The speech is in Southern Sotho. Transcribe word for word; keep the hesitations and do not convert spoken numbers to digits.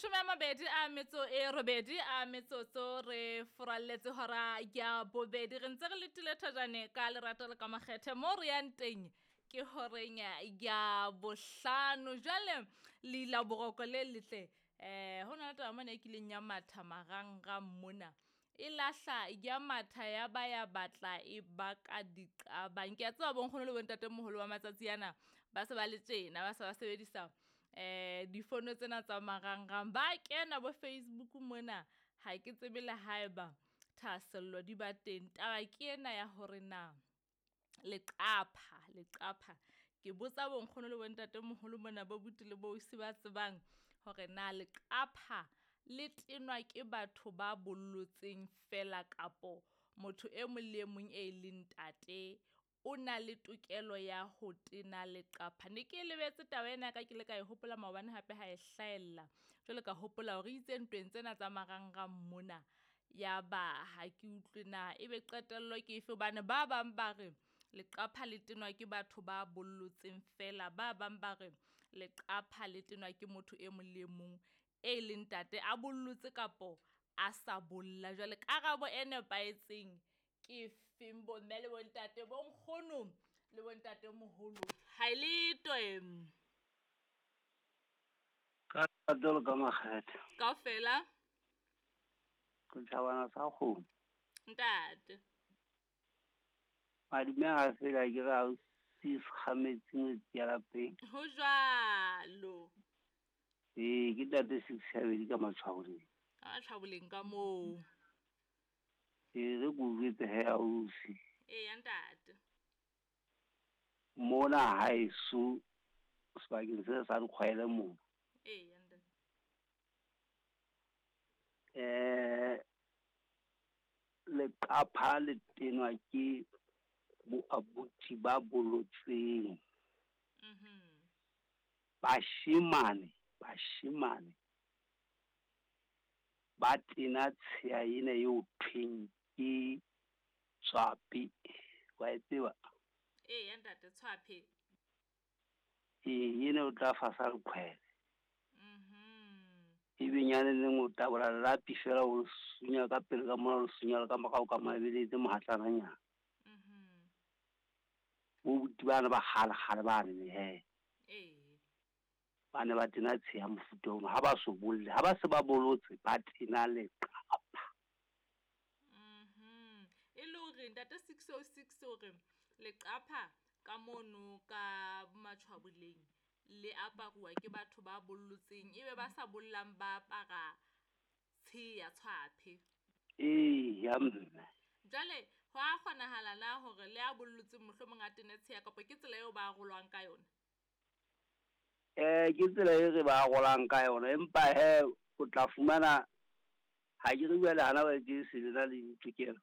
Mashome a mabedi a metso e robedi a metsotso re furalletse hora ya bobedi. Re ntse re letile thajane ka lerato le ka makgethe mo re yang teng ke horeng ya bohlano. Jwale leila boroko le letle, eh ho na le taba mona e kileng ya matha marangrang mona. E lahla ya matha ya ba ya batla e baka diqabang. Ke a tseba bo nkgono le bontatemoholo ba matsatsi ana ba se ba le tjena, ba se ba sebedisa eh difono tsena tsa marangrang, ba kena bo Facebook mona. Ha ke tsebe le haeba thahasello di ba teng. Taba ke ena ya hore na leqapha, leqapha ke botsa bo nkgono le bontatemoholo mona, bo buti le bo ausi ba tsebang hore na leqapha le tenwa ke batho ba bollotseng fela kapo motho e mong le e mong e leng ntate o na le tokelo ya ho tena leqapha. Ne ke lebetse taba ena ka ke ile ka e hopola maobane hape ha e hlahella. Jwale ka hopola hore itse ntweng tsena tsa marangrang mona, ya ba ha ke utlwe na ebe qetello ke efe, hobane ba bang ba re leqapha le tenwa ke batho ba bollotseng fela, ba bang ba re leqapha le tenwa ke motho e mong le e mong e leng ntate a bollotse kapo a sa bolla. Jwale karabo e nepahetseng ke feng bo mme le bontate, bo nkgono le bontatemoholo? Ha e letwe. Ka lerato le ka makgethe. Kaofela. Setjhabana sa kgomo. Ntate. Madume ha fela ke re ha o si sekgametsi ngwetsi ya lapeng. Ho jwalo. Ee, ke ntate Six Habedi ka Matshwaboleng. Ka Matshwaboleng ka moo. Ee, re ko jwetse he ausi. Eya ntate. Mona haeso sebakeng se sa Dikgwele mona. Eya ntate. Eh, leqapha le tenwa ke bo abuti ba bolotseng. Mhm. Bashemane, bashemane ba tena tsheya ena eo thweng ke tshwape. Wa e tseba? Eya ntate, tshwape. Ee, ena o tla fasa leqhwele. Mhm. Ebe nyane neng o tabola lelapi fela o sunya ka pele ka mona, o sunya le ka morao ka mona, ebe le etse mohatlananyana. Mhm. Bo buti bana ba kgale-kgale bane he. Ee. Ba ne ba tena tsheya mofuta ono, ha ba so bolle, ha ba se ba bolotse, ba tena leqapha. Mhm. E le hore ntate six oh six hore leqapha ka mono ka Matshwaboleng le aparuwa ke batho ba bollotseng, ebe ba sa bollang ba apara tsheya tshwaphe. Ee, ya mme. Jwale ho a kgonahala na hore le a bollotseng mohlomong a tene tsheya, kapa ke tsela eo ba arolwang ka yona? Eh, ke tsela e re ba arolang ka yona, empa he o tla fumana ha ke re jwale hana ba ke se le na le ditokelo.